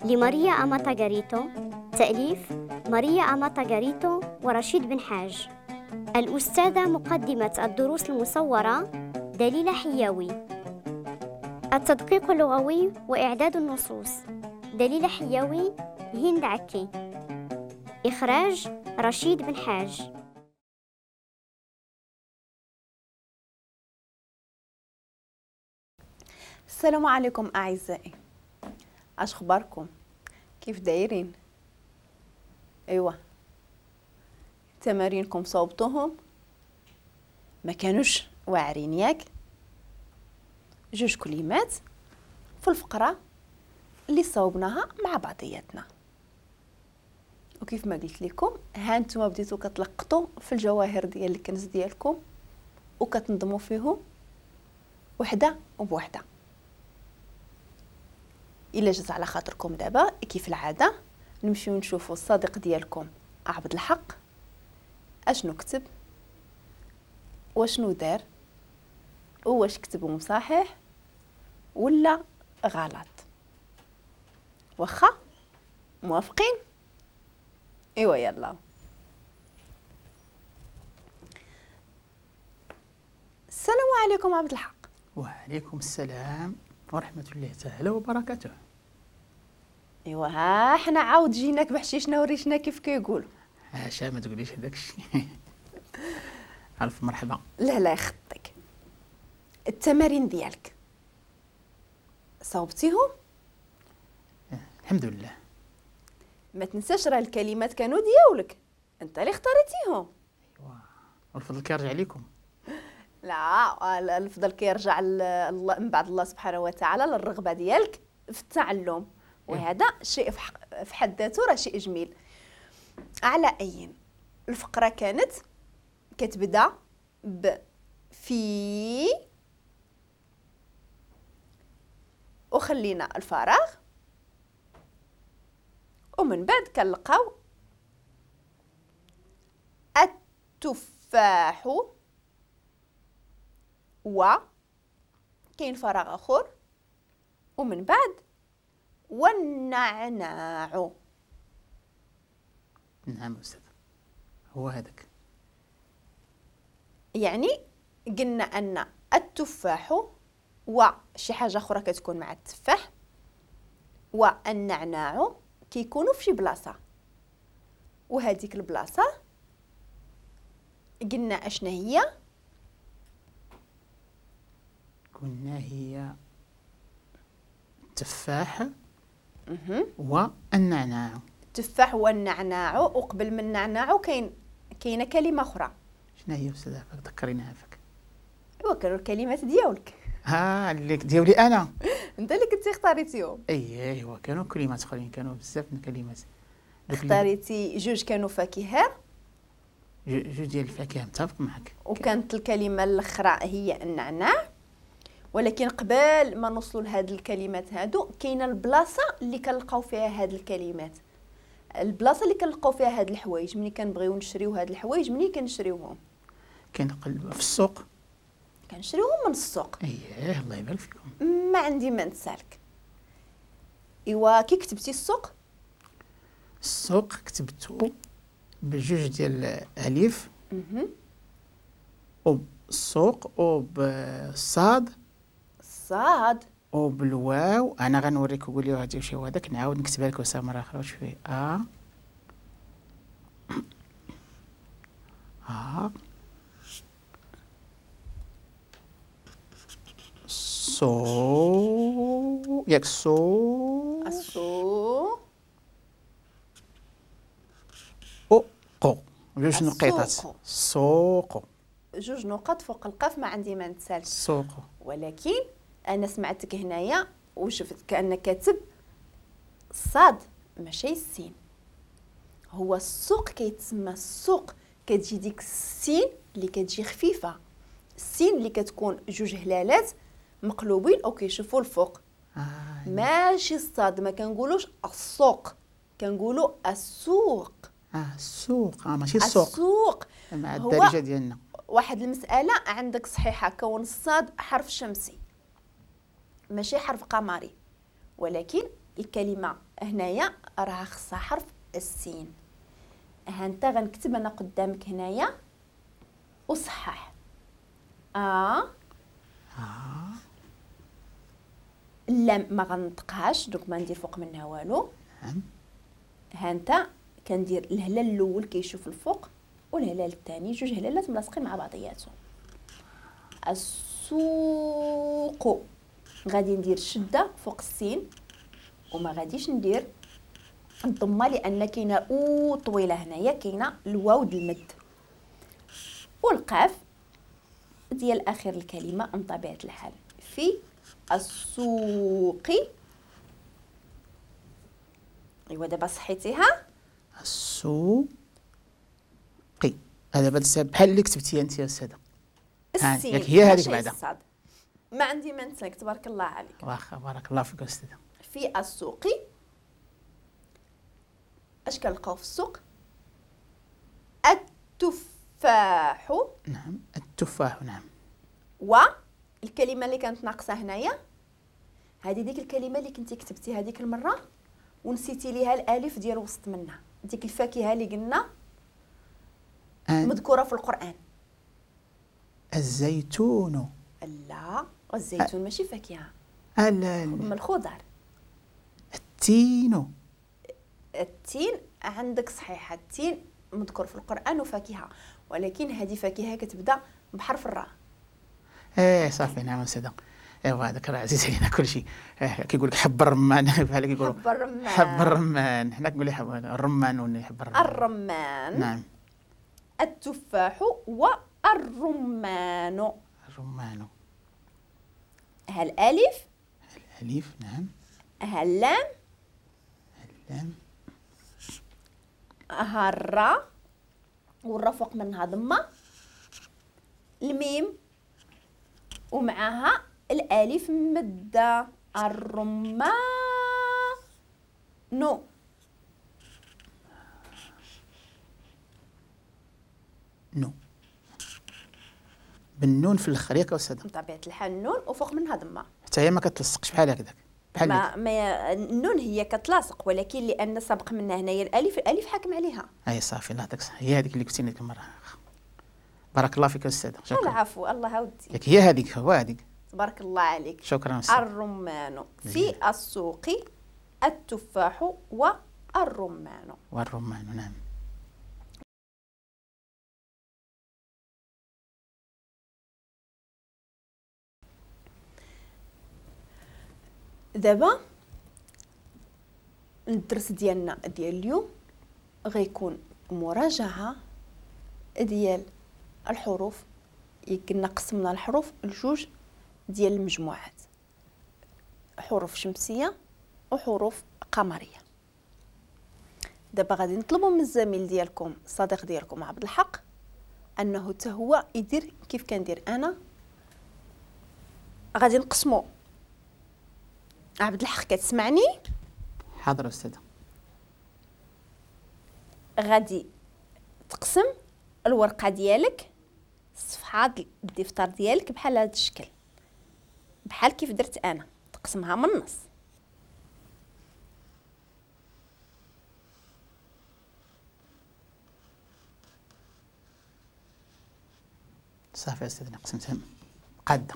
لماريا أماتا غاريتو، تأليف ماريا أماتا غاريتو ورشيد بن حاج. الأستاذة مقدمة الدروس المصورة دليلة حياوي. التدقيق اللغوي وإعداد النصوص دليلة حياوي، هند عكي. إخراج رشيد بن حاج. السلام عليكم أعزائي، اش اخباركم؟ كيف دايرين؟ ايوا تمارينكم صوبتوهم؟ ما كانوش واعرين ياك؟ جوج كلمات في الفقرة اللي صوبناها مع بعضياتنا، وكيف ما قلت لكم ها نتوما بديتو كتلقطوا في الجواهر ديال الكنز ديالكم وكتنظموا فيهم وحده وبوحده. الا جات على خاطركم دابا كيف العادة نمشيو نشوفوا الصديق ديالكم عبد الحق اشنو كتب واشنو دار وواش كتبهم صحيح ولا غلط. واخا موافقين؟ ايوا يلا. السلام عليكم عبد الحق. وعليكم السلام ورحمة الله تعالى وبركاته. ايوا ها حنا عاود جيناك بحشيشنا وريشنا كيف كيقولوا. عاشا ما تقوليش هذاك الشيء. الف مرحبا. لا لا يخطيك. التمارين ديالك صوبتيهم؟ الحمد لله. ما تنساش راه الكلمات كانوا ديالك، انت اللي اختاريتيهم. ايوا والفضل كيرجع لكم. لا الفضل كيرجع من بعد الله سبحانه وتعالى للرغبه ديالك في التعلم، وهذا شيء في حد ذاته راه شيء جميل. على اي الفقرة كانت كتبدا ب في وخلينا الفراغ، ومن بعد كنلقاو التفاح و كاين فراغ اخر، ومن بعد والنعناع. نعم أستاذ هو هذاك. يعني قلنا أن التفاح وشي حاجة أخرى كتكون مع التفاح والنعناع كيكونوا في شي بلاصة، وهذيك البلاصة قلنا أشنا هي؟ قلنا هي التفاح والنعناع. التفاح والنعناع، وقبل من النعناع كاينه كلمة اخرى. شنو هي استاذ عفاك؟ ذكريني عفاك. ايوا كانوا الكلمات ديالك. ها اللي ديالي انا. انت اللي كنتي اختاريتيهم. اي ايوا كانوا كلمات اخرين، كانوا بزاف من الكلمات. اختاريتي جوج كانوا فاكهة، جوج ديال الفاكهة، متفق معك. وكانت الكلمة الاخرى هي النعناع، ولكن قبل ما نوصلوا لهاد الكلمات هادو كاينه البلاصة اللي كنلقاو فيها هاد الكلمات، البلاصة اللي كنلقاو فيها هاد الحوايج ملي كنبغيو نشريو هاد الحوايج. ملي كنشريوهم كنقلبوا في السوق، كنشريوهم من السوق. اييه الله يبارك فيكم. ما عندي ما نسالك. ايوا كي كتبتي السوق؟ السوق كتبتو بجوج ديال الالف وبالسوق وبالصاد الصاد وبالواو. انا غنوريك وقول لي غادي شي هذاك، نعاود نكتبها لك وسام مرة اخرى. شوفي ا ا سو، ياك سو السو او قو، جوج نقيطات. سوق جوج نقط فوق القاف، ما عندي ما نتسالش. سوق. ولكن انا سمعتك هنايا وشفت كانك كاتب الصاد ماشي السين. هو السوق كيتسمى السوق، كتجي ديك السين اللي كتجي خفيفة، السين اللي كتكون جوج هلالات مقلوبين او كيشوفوا الفوق. ماشي الصاد، ما كنقولوش السوق، كنقولوا السوق. السوق، ماشي السوق. السوق مع الدارجة ديالنا. واحد المسالة عندك صحيحه، كون الصاد حرف شمسي ماشي حرف قمري، ولكن الكلمة هنايا راه خصها حرف السين. ها انت غنكتب انا قدامك هنايا وصحح. اللام ما غنطقهاش donc ما ندير فوق منها والو. ها انت كندير الهلال الاول كيشوف الفوق والهلال الثاني، جوج هلالات ملاصقين مع بعضياتهم. السوق غادي ندير شده فوق السين وما غاديش ندير الضمة لان كاينه او طويلة هنايا، كاينه الواو د المد والقاف ديال اخر الكلمة من طبيعة الحال. في السوق. ايوا دابا صحيتيها السوق. هذا بحال اللي كتبتيها انت يا استاذه. السين هي هذيك بعدا. ما عندي ما نسالك، تبارك الله عليك. واخا بارك الله فيك استاذه. في السوق اش كنلقاو في السوق؟ التفاح. نعم التفاح. نعم. والكلمة اللي كانت ناقصه هنايا هذه ديك الكلمة اللي كنتي كتبتي هذيك المرة ونسيتي ليها الالف ديال وسط منها، ديك الفاكهة اللي قلنا مذكورة في القران. الزيتون. لا الزيتون ماشي فاكهة. من الخضر. التين. التين عندك صحيحه، التين مذكور في القران وفاكهة، ولكن هذه فاكهة كتبدا بحرف الراء. ايه صافي. نعم استاذه. ايوا هذاك راه عزيز علينا كلشي. كيقول لك حب الرمان بحال كيقولوا حب الرمان. حب الرمان، حنا كنقول حب الرمان ولا حب الرمان. الرمان. نعم. التفاح والرمان. الرمان. ها الالف. الالف. نعم. ها اللام. اللام. ها الراء والراء فوق منها ضمه، الميم ومعها الالف مده، الرمان. نو. بالنون في الاخر ياك استاذه؟ بطبيعة الحال النون وفوق منها ضمه. حتى هي ما كتلصقش بحال هكذاك. بحال ما النون هي كتلاصق، ولكن لان سبق منها هنايا الالف، الالف حاكم عليها. اي صافي الله يعطيك الصحة، هي هذيك اللي قلتي لك المرة. بارك الله فيك استاذه. شكرا. العفو، الله ودي. ياك هي هذيك، هو هذيك. تبارك الله عليك. شكرا أستاذ. الرمان في السوق، التفاح والرمان. والرمان. نعم. دابا الدرس ديالنا ديال اليوم غيكون مراجعه ديال الحروف. كنا قسمنا الحروف لجوج ديال المجموعات، حروف شمسية وحروف قمريه. دابا غادي نطلبوا من الزميل ديالكم الصديق ديالكم عبد الحق انه حتى هو يدير كيف كندير انا. غادي نقسموا. عبد الحق كتسمعني؟ حاضر استاذه. غادي تقسم الورقة ديالك، الصفحة الدفتر ديالك بحال هذا الشكل، بحال كيف درت انا، تقسمها من النص. صافي استاذ قسمتها قاده.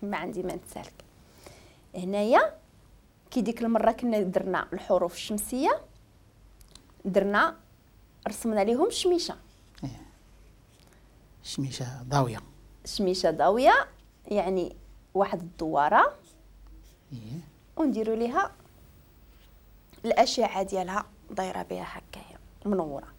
ما عندي ما نتسالك. هنايا كي ديك المرة كنا درنا الحروف الشمسية، درنا رسمنا لهم الشميشه. شميشه ضاويه. شميشه ضاويه يعني واحد الدواره. ونديروا ليها الاشعة ديالها دايرة بها هكايا منورة.